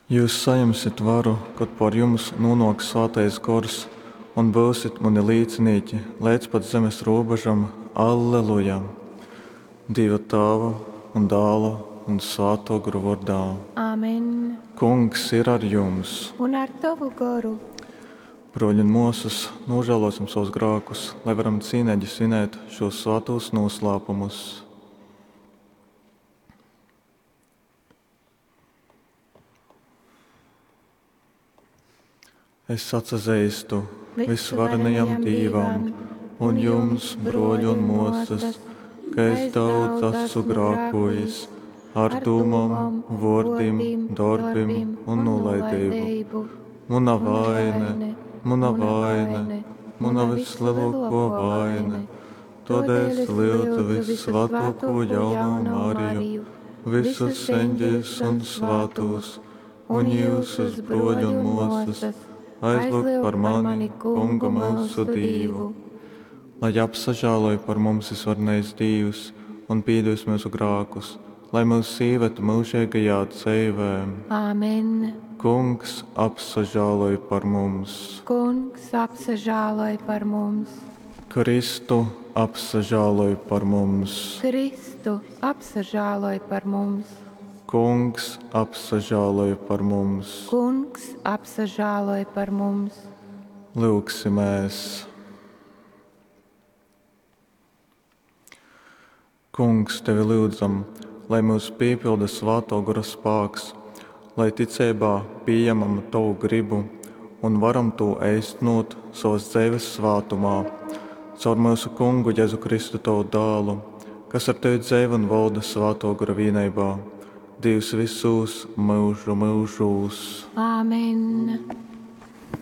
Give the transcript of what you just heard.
Jūs sajimsit varu, kod pōr jums nūnōks Svātais Gors, un byusit muni līcinīki leidz pat zemes rūbežam. Alleluja! Dīva Tāva un Dāla un Svātō Gora vōrdā. Amen. Kungs ir ar jums! Un ar tovu goru. Brōļi un mōsas, nūžālōsim savus grākus, lai varam cīneigi svinēt šūs svātūs nūslāpumus. Es atsazeistu vysvarenajam Dīvam un jums, brōļi un mōsas, ka es daudz esmu grākojis ar dūmom, vōrdim, dorbim un nūlaideibu. Muna vaine, muna vaine, muna vyslelōkō vaine. Tōdēļ es lyudzu vyssvātōkū jaunū Mariju, visus eņģeļus un svātūs, un jyusus, brōļi un mōsas, aizlyugt par mani Kungu myusu Dīvu. Lai apsažāloj par mums visvarenais Dīvs un pīdūs myusu grākus, lai myus īved myužeigajā dzeivē. Amen. Kungs apsažāloj par mums. Kungs apsažāloj par mums. Kristu apsažāloj par mums. Kristu apsažāloj par mums. Kungs apsažāloj par mums. Kungs apsažāloj par mums. Lyugsimēs. Kungs, tevi lyudzam, lai myus pīpilda Svātō Gora spāks, lai ticeibā pījemam Tovu gribu un varam tū eistnot savas dzeives svātumā. Caur myusu Kungu Jezu Kristu Tovu dālu, kas ar Tevi dzeivo un volda Svātō Gora vīneibā, Dīvs visūs myužu myužūs. Āmen.